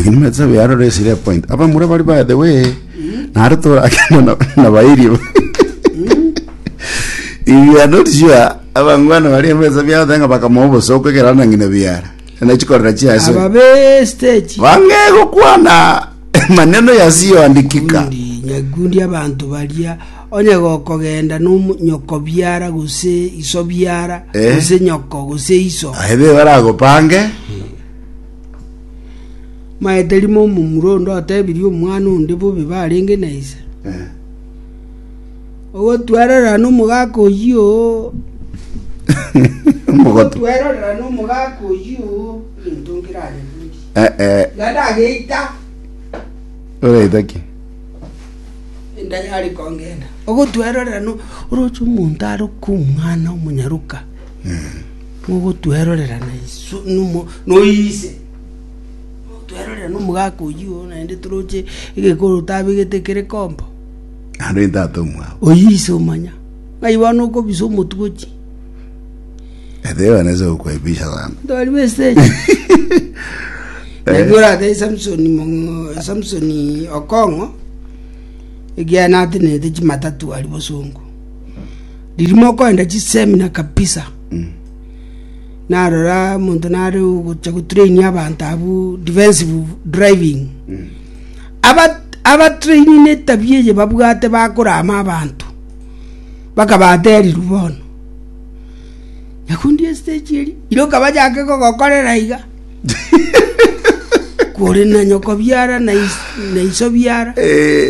Lakini metse biaro resire point. Abamura bari by the way. Naro torakenda na, na bairi. If you are not sure, abangwana bari emesa biaro bakamoa obosoko ekero na ng'ina biara. Na chikorera chiase. Aba be stage. Bange gokwana maneno yasiyoandikika. Nyakundi, nyakundi abanto baria onye gokogenda nomo nyoko biara gose iso biara Eh. gose nyoko gose iso. Aye be baragopange. Maete rimo omomura onde otebirie omwana onde bobe barenge na ise. Eh. Ogotwerorera nomogaka oyio oo. Omogotu. Ogotwerorera nomogaka oyio oo, egento nkeranyebundie. Eh, eh, Iga ndageita, oreita ki? enda yare kongenda. Ogotwerorera no oroche omonto aroke omwana omonyaroka. Ogotwerorera na iso nomo noise. Ogotwerorera nomogaka oyio oo naende toroche egekoro otabegete kere kombo. Naende oyo tata omwabo. Oyio ise omanya. Ng'ai bono okobisa omotwe gochia? Ete nese gokwebisha sana. Tori b'estage. Naki oratebie Samsoni mong'o Samsoni Okong'o, ekiagera natenenete chimatatu aria bosongo. Riria mokoenda chisemina kabisa, narora omonto nare ogocha gotrain abanto abwo defensive driving. Aba abatraini netabia eye babwate bakorama abanto, bakabaterirwe bono. Nyakundi estage eria, iroka bachake kogokorera iga. Kore na nyoko biara na is- na iso biara. Eh.